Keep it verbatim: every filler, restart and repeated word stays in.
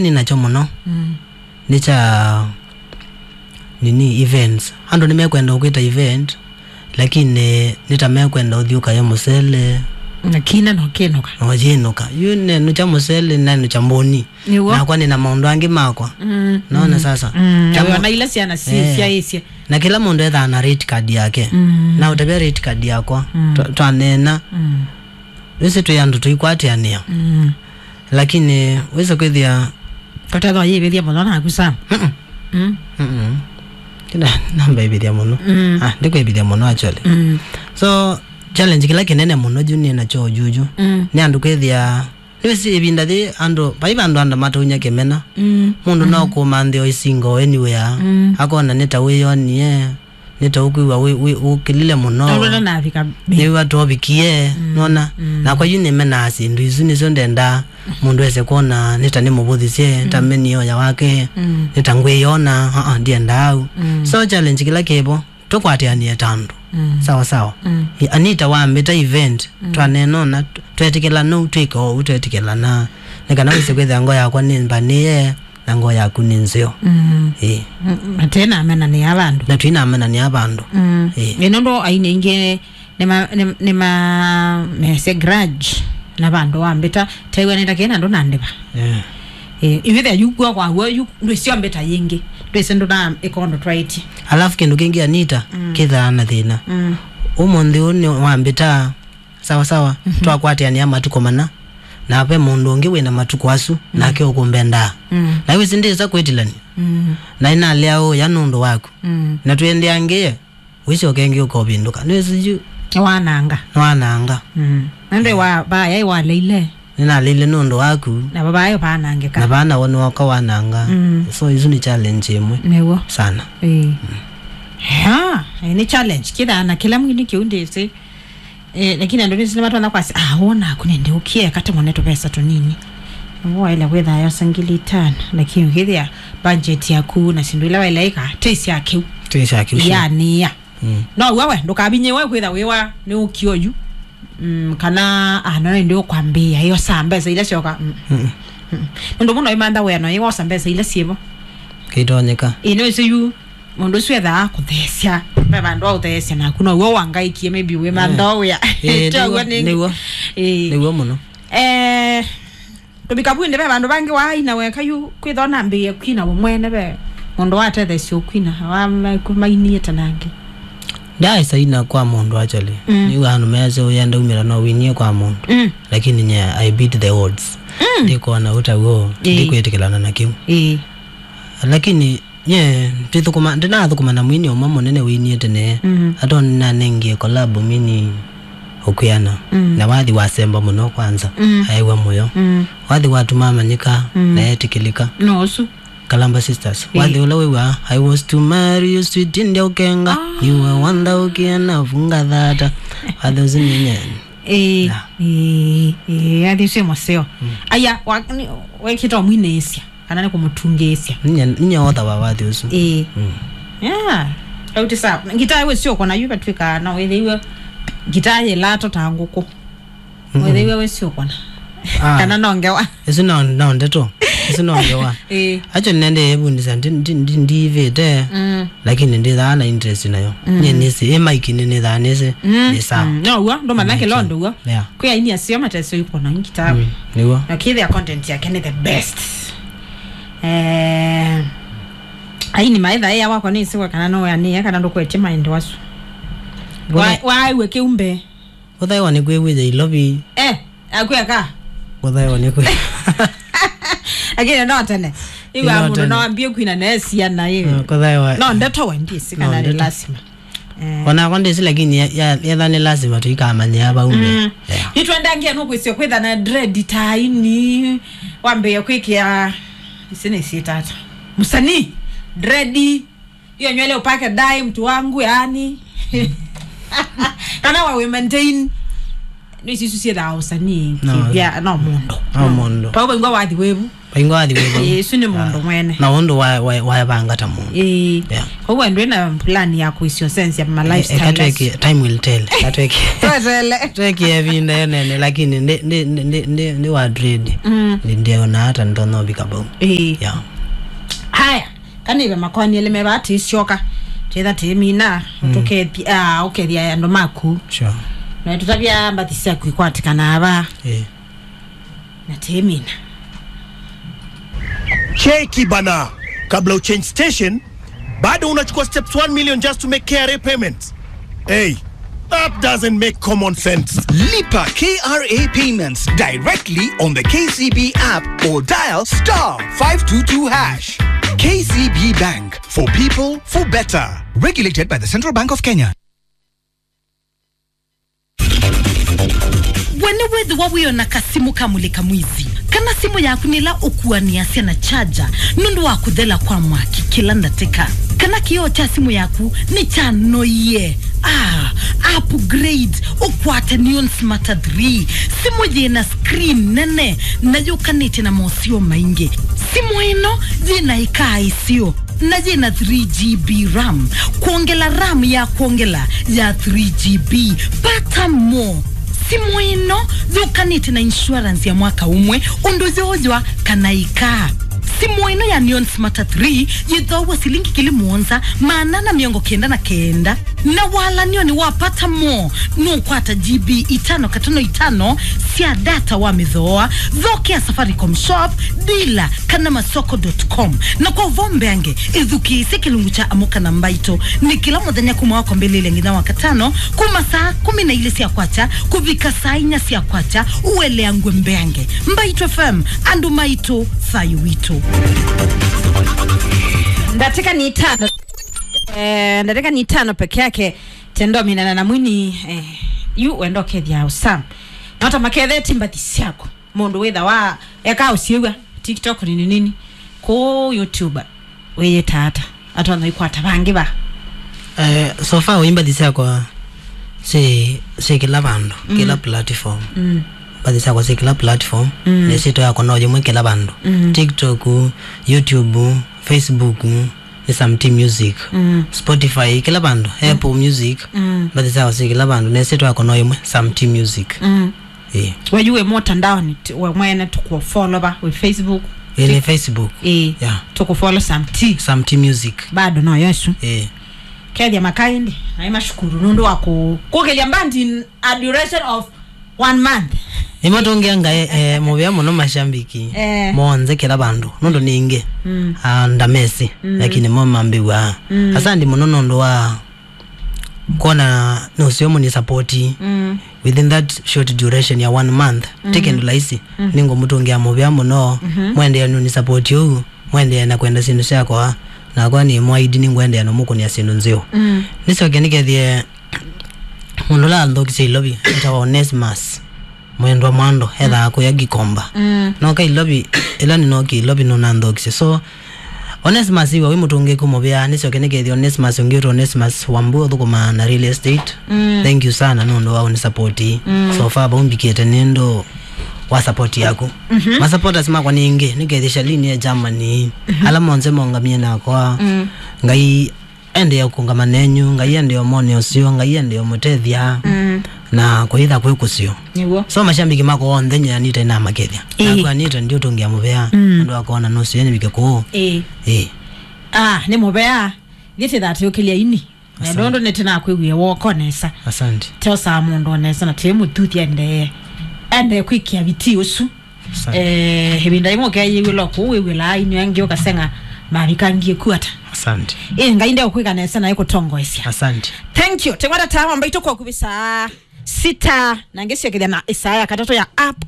nĩ nakyo mũno. Mm. Nĩ kya nini, events. Andũ nĩmekwenda ũkwĩta event, lakini nĩ ta mekwenda ũthiĩ ũkaye mũsele. Na kina no kĩnũka. No kĩnũka. Yu nenũkya mũsele, nenũkya mbũni. Nĩw'o. Nakwa nĩ na maũndũ angĩ makwa. Mm, naona mm, sasa. Mm, kya na mo- wĩona ila syana si- eh, syaĩsye. Na kĩla mũndũ ethaa na rate card yake. Mm. Na ũtavya rate card yakwa. Mm. Twa- twaneena. Mm. Wĩsĩ twĩ andũ tũikwatĩanĩa. Mm. Lakini wĩsĩ kwĩthĩa. Kotethwa yĩvĩthya mũno naku Sam. Mm-mm. Mm. Mm-mm. Kĩna namba ĩvĩthya mũno. Mm. Ah, ndikwĩvĩthya mũno actually. Mm. So, challenge kĩla kĩnene mũno yu nĩ nakyo juju. Mm. Nĩ andũ kwĩthĩa, nĩwĩsĩ ĩvinda yĩ andũ, vai vandũ andũ matonya kĩmena. Mm. Mũndũ no kũmanthĩa o isingo anywhere. Mm. Akona nĩ ta wĩyonie. Nĩ ta ũkwĩw'a wĩ- wĩ- ũkĩlile mũno. Tondũ ndanavika. Nĩw'a tũvikie. Mm, nona. Mm. Nakwa yu nĩmenaa syĩndũ isu, nĩsyo ndendaa mũndũ ese kwona nĩ ta nĩmũvũthisye, ta, mm, meni oya wake. Mm. Nĩ ta ngwĩyona, uh-uh, ndiendaa au. Mm. So challenge kĩla kĩvo, tũkwatĩanĩe ta andũ. Mm. Sawa sawa. Mm. I- Anita wambĩta event, mm, twaneenona, tw- twetĩkĩlana ũu twĩke ũu, twetĩkĩlana. Nĩ kana wĩse kwĩthĩa ngo yakwa nĩ mbanĩe, na ngoo yaku nĩ nzeo. Mm. Ĩĩ. Mm, na tena amenanĩa vandũ. Na twina amenanĩa vandũ. Mm. Ĩĩ. Ĩ, nũndũ aini aingĩ nĩma- nĩm- nĩma- mese grudge na vandũ wambĩta, taiwa nĩtakie na ndũ na ndĩva. Yeah. Ĩĩ, ivĩthĩa yu kua kwa w'o, yu ndwĩsyombĩta yĩngĩ. Ndwĩsĩ ndũ na ĩkondo twaĩtye. Alafu kĩndũ kĩngĩ, Anita, mm, kĩthaa na thĩna. Mm. Ũmũnthĩ ũũ nĩ wambĩta, sawa sawa, mhm, twakwatĩanĩa matukũ mana, na ve mũndũ ũngĩ wĩna matukũ asu, mm, nake ũkũmbendaa. Mm. Na wĩsĩ ndĩsa kwĩtilany'a. Mm. Na ĩnalea ũya nũndũ waku. Mm. Na twĩendeangĩe, wĩsyoke ĩngĩ ũkovĩndũka. Nĩwĩsĩ yu. Nĩwananga. Nĩwananga. Mm. Nũndũ wa vaya waleile. Nĩnaleile nũndũ waku. Na vaya vanangĩka. Na vana woni wakwa wananga. Mm. So isu nĩ challenge ĩmwe. Nĩw'o. Sana. Ĩĩ. Mm. Ha, ĩĩ, nĩ challenge. Kĩthaa na kĩla mwini kĩu ndĩsĩ. Eh, lakini andũ nĩsĩ nĩmatwanya kwasya, ah, wona aku nende ũkie, kate mone tũvesa tũnini. Nĩw'o waĩle kwĩthaa yosa ngili itano, lakini ũkĩthĩa budget yaku na syĩndũ ila waĩle ĩka, tĩ sya kĩu. Tĩ sya kĩu, sure. Yanĩa. Mm. No we, we, ndũkavinyĩwe kwĩtha wĩwa nĩ ũkio yu. Mm, kana, ah, no ĩndĩ ũkwambĩĩa, ĩyo saa mbesa ila syoka. Mm. Mm-mm. Mm. Nũndũ mũno imantha wĩa no ĩwosa mbesa ila syĩvo. Kĩitonyeka. Ĩ, no ĩsĩ yu. Mũndũ ũsu ethaa kũtheesya. Ve vandũ wa ũtheesya naku, no w'o wangaĩkie, maybe wĩ mantha wĩa. Eh, nĩw'o, nĩw'o. Ĩĩ. Nĩw'o mũno. Eh, tũvika vu ĩndĩ ve vandũ vangĩ waaina weka yu, kwĩthwa nambĩĩe kwina we mwene ve mũndũ watetheesya ũkwina, wa- mainiĩte nangĩ. Ndaaĩsa ina kwa mũndũ actually. Mm. Nĩw'a andũ measya ũya ndaumĩla no winie kwa mũndũ. Mm. Lakini nye, I beat the odds. Mm. Ndikona ũtaw'o, ĩĩ, ndikwĩtĩkĩlana na kĩu. Ĩĩ. Lakini Nye, ndithũkũma- ndinathũkũma na mwini ũmwe mũnene wĩinie tene. Mm. Atonanengie kolabo mini ũkwĩana. Mm. Na wathi wasemba mũno kwanza. Mm. Aewa mũyo. Mm. Wathi watuma amanyĩka, mm, na etĩkĩlĩka. No ũsu. Kalamba Sisters. Ĩĩ. Wathi ũla wĩw'aa, "I was to marry you, sweet, ndia ũkenga. Ah. You were wonder ũkĩana, funga thata." Wathi ũsu nĩ nye. Ĩĩ, yeah, ĩĩ, ĩĩ, athi ũsu mũseo. Mm. Aya, wa- nĩ- wekĩte ũmwinĩĩsya. Kana nĩ kũmũtungĩĩsya. Ninya, ninya otha wa wathi ũsu. Ĩĩ. Mm. Yeah. Auti sa, ngitaa wĩsĩ ũkona yu vatw'ĩkaa no wĩthĩiwe ngitaa yĩlato ta ngũkũ. Mm-mm. Wĩthĩiwe wĩsĩ ũkona. Ah. Kana no ngewa. Ĩsu no, no ndeto. Ĩsu no ngewa. Ĩĩ. Actually, nende yevundisa ndi, ndi, ndi, ndivĩte. Mm. Lakini ndithaa na interest nayo. Mm. Nye nĩsĩ, ĩ maiki nĩ nĩthaa nĩsĩ, mm, nĩ sawa. Mm. No w'o, ndũmanya kĩlondo w'o. Yeah. Kwĩ aini aseo matesĩ ũikũna ngitaa. Mm, nĩw'o. Na kĩthĩa content yake nĩ the best. Eh, aini maitha ĩa wakwa nĩ isiwe kana no ya nĩ kana ndũkwetye mind wasu. Wa- Wona- waaiwe kĩumbe. Ũthaĩwa nĩ kwĩw'ĩtha ilovi. Eh, akweka. Ũthaĩwa nĩ kwĩ- Lakini no tene. Iwa no mũndũ tene. No ambie kwina na ciana ĩ. Mm, kũthaĩwa. No ndeto we ndisi kana nĩ ndeto. Lazima. Eh. Onakwa ndĩsĩ, lakini ya- ya- yetha nĩ lazima tũikamanyĩa vau mbee. Mm. Yeah. Nĩtwendangia nũkwĩsĩa kwĩtha na dread ta ini, wambĩĩa kwĩkĩa, ici nĩ ciĩtata. Mũsanii, dread, hiyo nywele upake dye, mtu wangu, yani. Kana wa we maintain. Nĩ ici isu ciĩthaa ũsanii, no, kĩvya, no mũndũ. No mũndũ. Pau vaigua wathi wĩvu. Vaingwa athi wĩvo. Ĩĩ, isu nĩ mũndũ mwene. Na ũndũ wa, wa, wavanga ta mũndũ. Ĩĩ. Yeah. Koguo ndwĩ na plan ya kũisyosensia ma lifestyle asu. Eka tweke, time will tell. Eka tweke. Twetele. Tweke ĩvinda ĩnene, lakini ndi, ndi, ndi, ndi, ndi, ndi wa trade. Mm. Ndi, ndiona hata ndono vika vau. Ĩĩ. Yeah. Haya, kana ive makoani elĩ me vaa tĩsyoka. Twĩtha tĩmina, mm, tũkethi-, ah, ũkethia andũ maku. Sure. Na tũtavya mbathi syaku ikwatĩkana ava. Ĩĩ. Na tĩmina. Cheki bana, kabla uchange station, bado unachukua steps one million just to make K R A payments. Hey, that doesn't make common sense. Lipa K R A payments directly on the K C B app or dial star five two two hash. K C B Bank, for people, for better. Regulated by the Central Bank of Kenya. We nĩwĩthĩwa wĩona kasimũ ka mũlĩka mwizi, kana simũ yaku nĩla ũkuanĩasya na charger nũndũ wa kũthela kwa mwaki kĩla ndatĩka, kana kĩoo kya simũ yaku nĩkyanoie? Ah, upgrade, ũkwate Neon Smarter three, simũ yĩna screen nene na yũkanĩte na moseo maingĩ. Simũ ĩno yĩna ĩkaa ĩseo na yĩna three G B RAM. Kwongela RAM ya kwongela ya three G B. Pata mo. Simũ ĩno yũkanĩte na insurance ya mwaka ũmwe, ũndũ yooywa kana ĩkaa. Simũ ĩno ya Neon Smarter three yĩthoaw'a silingi kili mũonza maana na mĩongo kenda na kenda. Na walanio nĩ wapata mo, nũkwata G B itano katano itano sya data wa mĩthooa. Thokea Safaricom Shop, dealer, kana masoko dot com. Na kwa ũvoo mbeange, ĩthukĩĩsye kĩlungu kya Amũka na Mbaitũ nĩ kĩla mũthenya kuma wa kwambĩlĩlya nginya wa katano, kuma saa kũmi na ilĩ sya kwakya kũvika saa inya sya kwakya, ũeleangw'e mbeange. Mbaitũ F M, andũ maitũ, thayũ witũ. Ndatĩka nĩ itano, eh, ndatĩka nĩ itano peke yake, tendominana na mwini, eh, yu wenda ũkethia ũsam. Nota maketheti mbathi syaku. Mũndũ wĩthawa eka ũsyĩw'a TikTok nini nini. Kũũ YouTube wĩyĩta ata? Atonya ikwata vangĩ va? Eh, so far ũimbathi syakwa syĩ, syĩ kĩla vandũ, mm, kĩla platform. Mm. Mbathi syakwa syĩ kĩla platform, mm, nĩsyĩtwa yakwa no yĩmwe kĩla vandũ. Mm. TikTok, YouTube, Facebook, nĩ Sam T Music. Mm. Spotify, kĩla vandũ, mm, Apple Music, mm, mbathi syakwa syĩ kĩla vandũ, nĩsyĩtwa yakwa no yĩmwe, Sam T Music. Mm. Ĩĩ. We yu wĩ mũtandaoni, t-, we mwene tũkũfollow va, wĩ Facebook? Ĩĩ, nĩ Facebook. Ĩĩ. Yeah. Tũkũfollow Sam T. Sam T Music. Bado no yo ĩsu. Ĩĩ. Kethia makaindi, naĩ mashukuru nũndũ wa kũ-, kũkĩlya band in a duration of one month. Nĩmatũngĩa ngaĩ, eh, mũvea mũno mashambiki, eh, monthe kĩla vandũ. Nũndũ ningĩ, mm, ah, ndamesi, mm, lakini mo mambĩw'aa. Mm. Asandi mũno nũndũ wa kwona nũseo mũni support. Mm. Within that short duration ya one month, mm, ti kĩndũ laisi. Mm. Nĩngũmũtũngĩa mũvea mũno, mhm, mwendeea nũni support ũu, mwendeea na kwenda syĩndũ syakwa, nakwa nĩ mwaidi nĩngwendeea na mũkũnĩa syĩndũ nzeo. Mm. Nĩsyoke nĩkethie mũndũ ũla anthokisye Ilovi, etawa Onesimus. Mwendwa Mwando, ethaa kũya Gikomba. Mm. Noka Ilovi, ĩla nĩnokie Ilovi nũnanthokisye. So, Onesimus iwa wĩ mũtũngĩku mũvea, nĩsyoke nĩkethia Onesimus ũngĩ wĩtwa Onesimus Wambu ũthũkũmaa na real estate. Mm. Thank you sana nũndũ wa ũnisapoti. Mm. So far, vau mbikĩte nĩ ũndũ wa support yaku. Mhm. Masupporters makwa ningĩ, nĩkethia Shalini e Germany, mhm, ala monthe maũngamie nakwa. Mm. Ngai endee kũngama nenyu, Ngai endee mone ũseo, Ngai endee mũtethya, mm, na kũitha kwĩ kũseo. Nĩw'o. So mashambiki makwa onthe nyanĩte na makethya. Ĩĩ. Nakwa nĩte ndiũtũngĩa mũvea, mm, andũ akoona nũseo nĩvike kũũ. Ĩĩ. Ĩĩ. Ah, nĩ mũvea. Thiĩ tĩthatĩũkĩlya ini. Asante. Nũndũ nĩtĩnakwĩwie woko nesa. Asante. Teosaa mũndũ o nesa na tĩmũthuthya endee. Endee kwĩkĩa vitii ũsu. Asante. Eh, ĩvinda yĩmwe ũkeyĩw'ĩla kũu wĩw'ĩlaa inyw'ĩ angĩ ũkaseng'a mavikangie ku ata. Asante. Ĩ, Ngai ndeũkwĩka nesa na ĩkũtongoesya. Asante. Thank you. Teng'wata tawa mbaitũ kwa kuvisa sita na ngĩsyokethya na ĩsaa ya katatũ ya app.